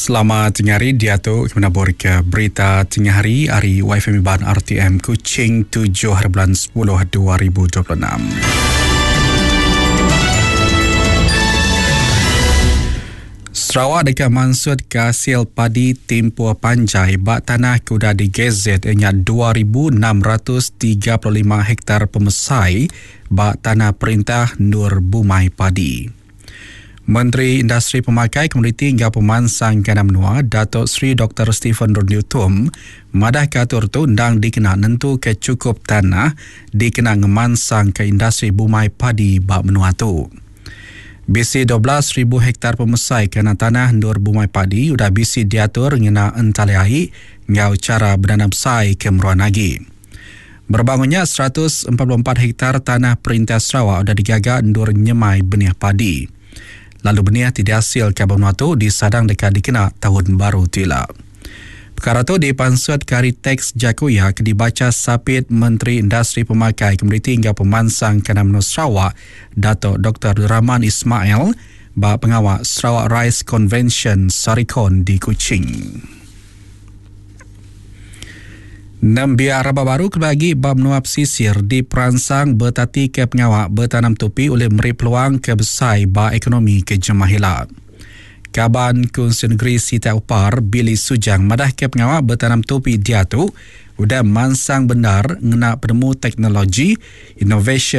Selamat tengah hari diatu kami nabur ke berita tengah hari ari YFM Iban RTM Kuching 7 hari bulan 10 2026. Sarawak deka mansutka asil padi timpuh panjai ba tanah ke udah digazet iya nya 2635 hektar pemesai ba tanah perintah endur bumai padi. Menteri Industri Pemakai, Komoditi enggau Pemansang Kandang Menua, Datuk Seri Doktor Stephen Rundi Utom madahka atur tu endang dikena nentuka chukup tanah dikena ngemansangka industri bumai padi ba menua tu. Bisi 12,000 hektar pemesai kandang tanah endur bumai padi udah bisi diatur ngena entali ai enggau chara bedanam besai ke meruan agi. Berebak enggau nya, 144 hektar tanah Perintah Sarawak udah digaga endur nyemai benih padi. Lalu benih ti diasilka ba menua tu disadang deka dikena taun baru tu ila. Pekara tu dipansutka ari teks jaku iya ke dibacha Sapit Menteri Industri Pemakai, Komoditi enggau Pemansang Kandang Menua Sarawak, Datuk Doktor Rahman Ismail ba pengawa Sarawak Rice Convention Sarikon di Kuching. Nembiak raban baru kelebih agi ba menua pesisir diperansang betatika pengawa betanam tupi ulih meri peluang ke besai ba ekonomi ke jemah ila. Kaban Kunsil Negeri Sitak Upar, Billy Sujang madahka pengawa betanam tupi diatu udah mansang bendar ngena penemu teknologi, inovasyen.